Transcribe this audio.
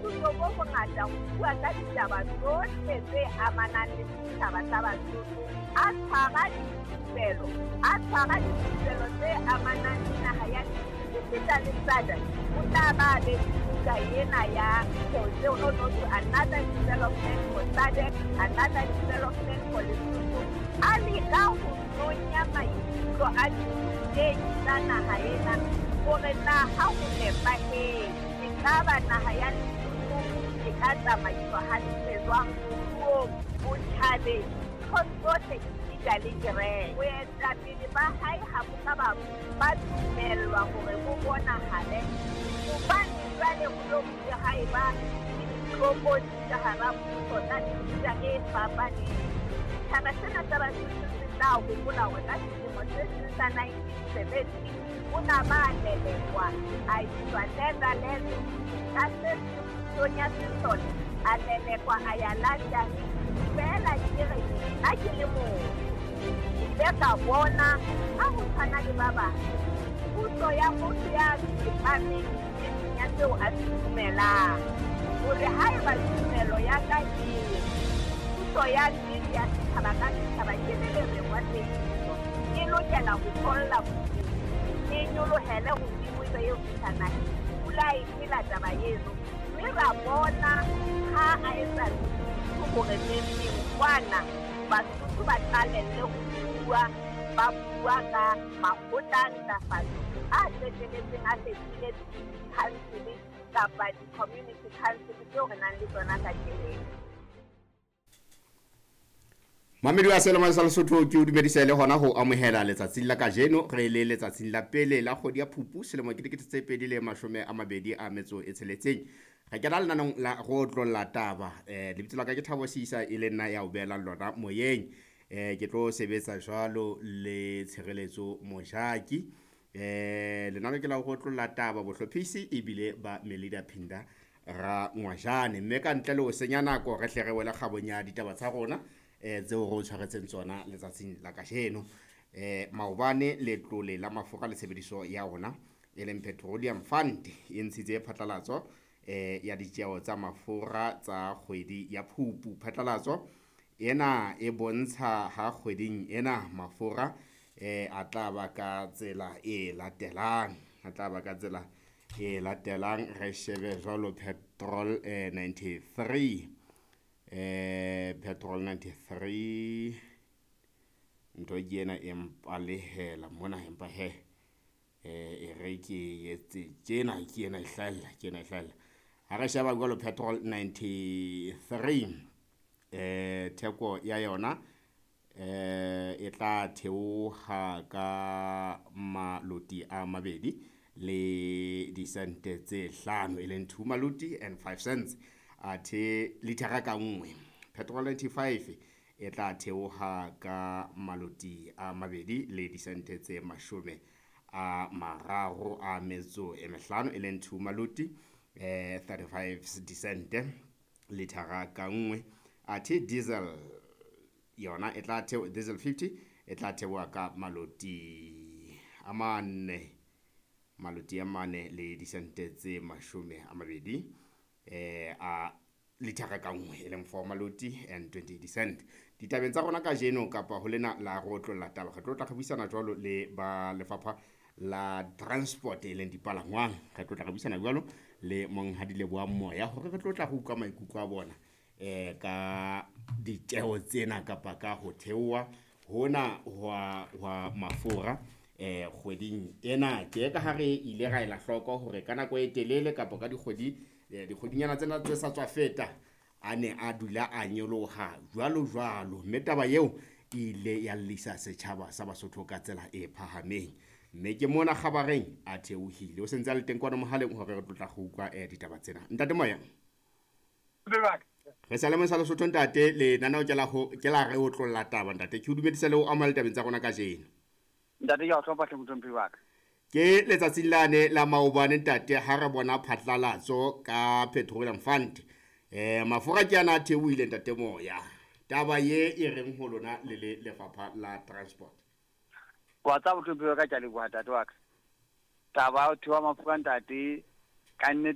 Boithuto bo bongata ho bua ka ditaba tsohle tse amanang le setjhaba sa Basotho, a tshwara dithupelo, a tshwara dithupelo tse amanang le naha ya Lesotho esita le SADC. O tla ba a be le buka ena ya no no to another development for SADC, another development for Lesotho. A leka ho nonya maikutlo a dirutehi tsa naha ena hore na ha ho nepahetse ekaba naha ya Lesotho e ka tsamaiswa hantle jwang moruong, botjhabeng, nthong tsohle esita le kereke. Boetapele ba hae ha bo ka ba ba dumellwa hore bo bonahale hobane jwale ho no ho ile ha eba le ditlokotsi ka hara mmuso tsa mefuta e fapaneng. Setjhaba sena sa Basotho se tla hopola hore ka selemo se seng sa 1970 o na ba lelekwa a iswa Netherlands, ka se seng pusong ya sesole a lelekwa a ya London. Feela ke re nna ke le motho ke ile ka bona ha ho tshwana le ba bang puso ya motho ya tsepameng nneteng ya seo a se dumelang, hore haeba tumelo ya ka e re puso ya nnete ya setjhaba ka setjhaba ke le lereng wa teiso e lokela ho tholla bodimo, e nyolohele hodimo e be e fihla naheng. Pula e phela taba eno, mme ra bona ha a etsa Lesotho hore neng kwana Basotho ba qalelle ho bua, ba bua ka makgotla a ntlafatso a qeteletseng a fetohile di-council kapa di-community council tseo re nang le tsona kajeno. Mamedi wa Selemo sa Lesotho, ke o dumedisa le hona ho amohela letsatsing la kajeno. Re le letsatsing la pele la kgwedi ya Phupu selemo ke 2026. Re kena lenanong la go otlolla taba. Lebitso la ka ke Thabo Sisa, e le nna ya o beelang lona moyeng. Ke tlo sebetsa jwalo le Tshireletso Mojaki. Lenano ke la go otlolla taba, bohlophisi ebile ba Melida Phinda ra Ngwajane. Mme ka ntle le ho senya nako, re hle re wele kgabong ya ditaba tsa rona tseo re o tshwaretseng tsona letsatsing la kajeno. Maobane letlole la mafura le tshebediso ya ona e leng Petroleum Fund e ntshitse phatlalatso ya ditjeo tsa mafura tsa kgwedi ya Phupu. Phatlalatso ena e bontsha ha kgweding ena mafura a tla ba ka tsela e latelang, a tla ba ka tsela e latelang. Re shebe jwalo petrol 93, petrol 93 ntho ke ena e mpalehela mona, empa he e re ke etse tjena, ke ena e hlahella, ke ena e hlahella. Ha re sheba jwalo petrol 93, theko ya yona e tla theoha ka maloti a mabedi le disente tse hlano, e leng 2 maloti and 5 cents athe lithara ka nngwe. Petrol 95 e tla theoha ka maloti a mabedi le disente tse 35, e leng 2 maloti 35 disente lithara ka nngwe. Athe diesel yona e tla theo, diesel 50 e tla theoha ka maloti a mane, maloti a mane le disente tse 20 a lithara ka nngwe, e leng 4 maloti and 20 cent. Ditabeng tsa rona kajeno kapa ho lena la go otlolla taba, re tlo tla re buisana jwalo le ba lefapha la transport e leng dipalangwang. Re tlo tla re buisana jwalo le monghadi Lebohang Moya hore re tlo tla re utlwa maikutlo a bona ka ditjeo tsena kapa ka ho theoha hona hwa mafura kgweding ena. Ke ka ha re ile ra ela hloko hore ka nako e telele kapa ka dikgwedi dikgwedinyana tsena tse sa tswa feta a ne a dula a nyoloha jwalo jwalo, mme taba eo e ile ya llisa setjhaba sa Basotho ka tsela e phahameng. Mme ke mona kgabareng a theohile, o sentse a le teng kwana mohaleng hore re tlo tla go utlwa ditaba tsena. Ntate Moya, re sa le sa Lesotho ntate, lenaneo ke la ho ke la re otlolla taba ntate. Ke o dumedisa le ho amohela ditabeng tsa rona kajeno. Ntate, ke a o hlompha hle mohlomphehi wa ka. Ke letsatsing lane la maobane ntate ha re bona phatlalatso ka Petroleum Fund. Mafura ke ana a theohile ntate Moya. Taba ye e reng ho lona le le lefapha la transport? Wa tseba mohlomphehi wa ka, ke a leboha ntate wa ka. Taba ya ho theoha mafura ntate, ka nnete